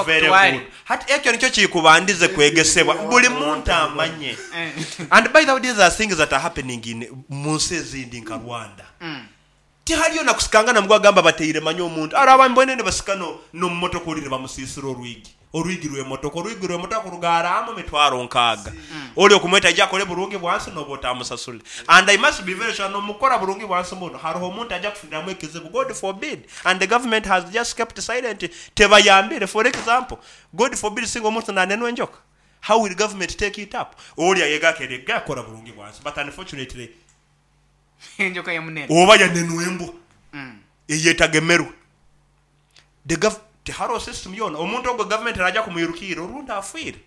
Very Bakutwale. good. Hati ekyo nikyo kikubandize kwegesebwa buli muntu amanye. And by the way, these are things that are happening in mu nsi ezindi nka Rwanda. Tihaliyo nakusikangana mugwa agamba bateire manye omuntu araba mbwene ne basika no nomumotoka oli ne bamusisira orwigi, orwigi rw'emotoka, orwigi rw'emotoka kurugaramu 60,000. Oli okumweta ajja akole burungi bwansi noba otamusasule. And I must be very sure nomukora burungi bwansi muno hariho omuntu ajja kufuniramu ekizibu, God forbid, and the government has just kept silent, tebayambire. For example, God forbid, singa omuntu nanenwa enjoka, how will government take it up? Oli ayega akerega akora burungi bwansi, but unfortunately enjoka yamunene oba yanenwa embwa eyetagemerwe the teharo system yona omuntu ogwo government araja kumwirukira orundi afiire.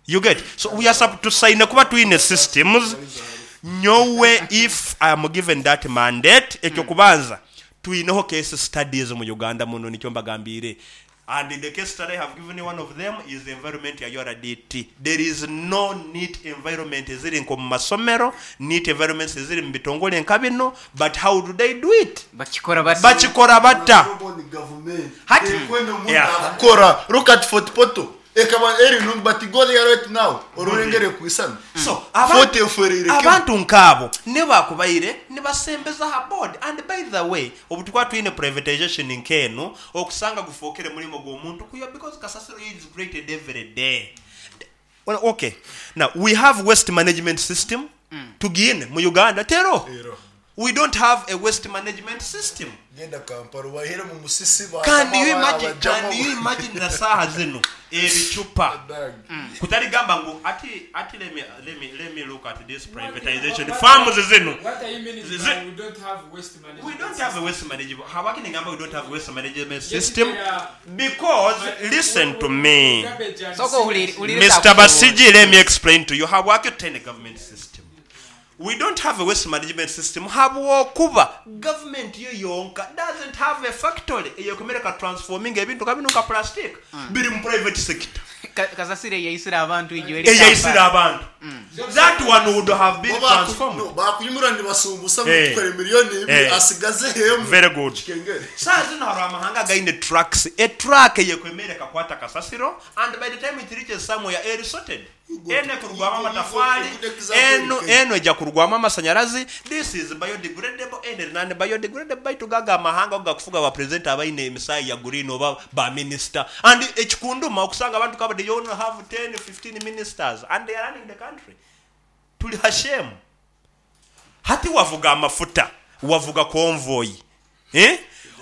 You get? So we are tusaine kuba twine systems. Nyowe if I am given that mandate, ekyo kubanza twineho case studies mu Uganda muno, nikyo mbagambire. And in the case study I have given you, one of them is the environment ya URDT. There is no neat environment eziri nko mu masomero, neat environments eziri mu bitongole nka bino, but how do they do it? Bakikora bata. Bakikora bata. Hati. Kora, look at Fort Portal. Ekaba eri nungi, but go there right now. Orurengere kuisana. So, Fort eferire. Abantu nkabo ne bakubaire ne basembeza ha board. And by the way, obutukwa twine privatization nkeno okusanga gufokere mulimo gw'omuntu kuyo, because kasasiro is created every day. Well, okay. Now we have waste management system. Tugine mu Uganda tero. Tero. We don't have a waste management system. Genda Kampala bahere mu musisi ba. Can you imagine? Can you imagine na saha zino ebicupa kutali gamba ngu ati let me look at this privatization farms zino. What are you meaning by we don't have waste management? We don't have a waste management. Habaki ningamba we don't have waste management Yes, system they are- because listen to me. Garbage and Soko sewage. uliriza Mr. Basiji, let me explain to you how work a government system. We don't have a waste management system. Habwokuba government yo yonka doesn't have a factory eyokumereka transforming ebintu kabino nka plastic biri mu private sector. Kasasire yayisira abantu ijo eri Eyayisira Kampala. abantu. That one would have been transformed. Bakunyumura nibasumbusa Eh. mutware 2 miliyoni asigaze hemu. Very good. Kikengere. Saa zino hari amahanga gaine trucks. A truck yekwemereka kwata kasasiro, and by the time it reaches somewhere eri sorted. Eno ekurugwamu amatafari, eno ejja kurugwamu amasanyarazi. This is biodegradable, eno eri non biodegradable. Baitu gaga amahanga ago gakufuga ba president abaine emisaayi ya green oba ba minister. And ekikunduma okusanga abantu kaba they only have 10 15 ministers and they are running the country. Tuli hashemu. Hati wavuga amafuta, wavuga convoy, eh?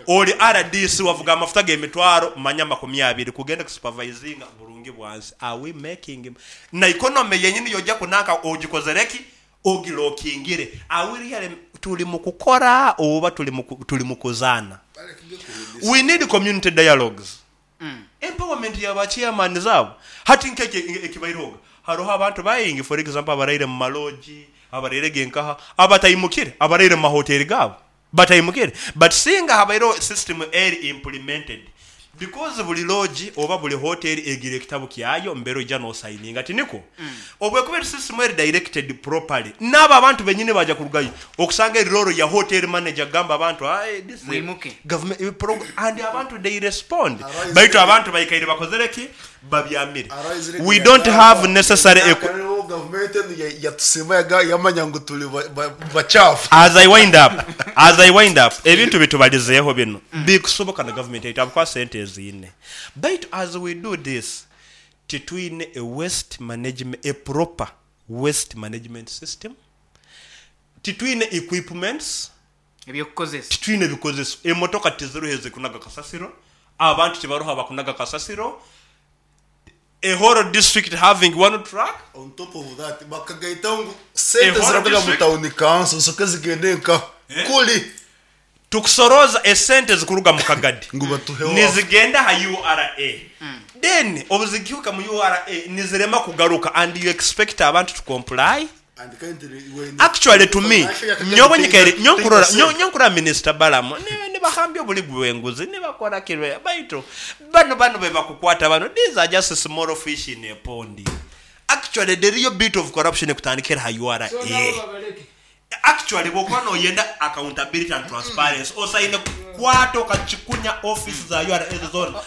Oli RDC wavuga amafuta g'emitwaro manya 20 kugenda kusupervisinga burungi bwansi. Are we making na economy yenyini yojja kunanka ogikozereki ogilokingire? Are we really tuli mu kukora oba tuli mu kuzaana? We need community dialogues. Empowerment ya chairman zaabo. Hati nkeke ekibairoga hariho abantu bayingi, for example, abaraire mu maloji, abaraire genkaha, abatayimukire, abaraire mu mahoteli gaabo batayimukire. But singa habaireho system eri implemented, because buli lodge oba buli hotel egira ekitabo kyayo mbere ojja nosayininga tiniko. Obwekuba system eri directed properly, n'abo abantu benyini baja kurugayo okusanga eri role ya hotel manager gamba abantu, "Aye, this is Mwimuke. government and abantu they respond." Arise Baitu abantu baikaire bakozereki babyamire. Arise. We don't have necessary Government yatusima yamanya ngu tuli bachafu. As I wind up, ebintu bitubalizeeho bino bikusoboka na government yaitu sente eziine. Baitu as we do this, titwine a waste management, a proper waste management system. Titwine equipments. Ebyokukozesa. Titwine ebikozeso. Emotoka tiziruho ezikunaga kasasiro, abantu tibaruho abakunaga kasasiro, a whole district having one truck. On top of that, bakagaita ngu sente Ehoro ziravuga mu district. town council soka zigende nka kuli. Tukusoroza esente zikuruga mu kagadi Ngu batuheho. nizigenda ha URA, then obuzikiuka mu URA nizirema kugaruka, and you expect abantu to comply? And currently when Actually, to me, Financial yakagadi nyowe nyikaire tenga sente. nyonkurora Minister Balamu ne bahambya obuli bwenguzi ne bakora kirwe, baitu bano be bakukwata bano, these are just small fish in a pond. Actually, the real bit of corruption ekutandikira ha URA. So nabo babaleke. Actually, bwokuba noyenda accountability and transparency, osaine kukwata okakikunya office za URA zona.